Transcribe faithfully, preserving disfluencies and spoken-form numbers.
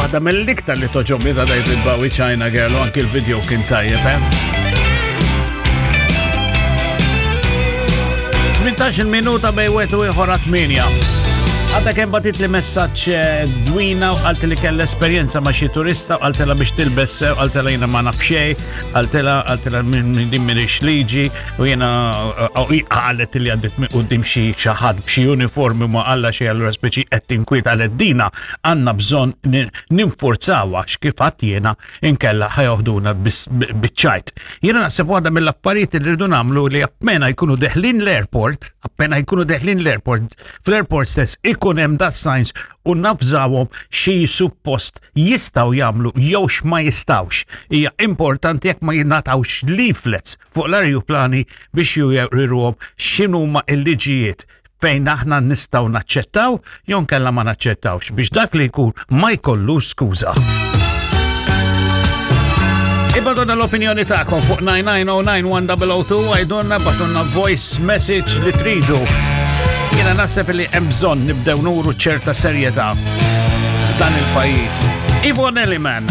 Waħda mill-iktar li togħġobni ta' David Bowie, China Girl, u anki l-video kien tajjeb, eh? tmintax-il minuta bejn wieħed u ieħor tmienja. Għadha kemm bagħtitli messaġġ eh, Dwina u qaltli li kellha esperjenza ma' xi turista u qaltilha biex tilbes sew, qaltilha jiena ma naf xejn, qaltilha qaltilha minn din m'iniex liġi u jiena eh, qalet li għaddit minn quddiem xi xi ħadd b'xi uniformi ma qalla xejn, allura speċi qed tinkwiet, qalet dina għandna bżonn ninforzawha x'kif għadd jiena inkella ħa joħduna biċ-ċajt. Jiena naħseb waħda mill-affarijiet li rridu nagħmlu li appena jkunu deħlin l-airport, appena jkunu deħlin l-airport, fl-airport stess ikun hemm da signs u navżawhom xi suppost jistgħu jagħmlu jew x'ma jistgħux. Hija importanti jekk ma jingħatawx leaflets fuq l-ajruplani biex juruhom x'inhuma l-liġijiet fejn aħna nistgħu naċċettaw jew nkella ma naċċettawx biex dak li jkun ma jkollux skuża. Ibgħatulna l-opinjoni tagħkom fuq nine nine oh nine one oh oh two, għidulna, ibgħatulna voice message li tridu. Jiena naħseb li hemm bżonn nibdew nuru ċerta serjetà f'dan il-pajjiż. Yvonne Elliman.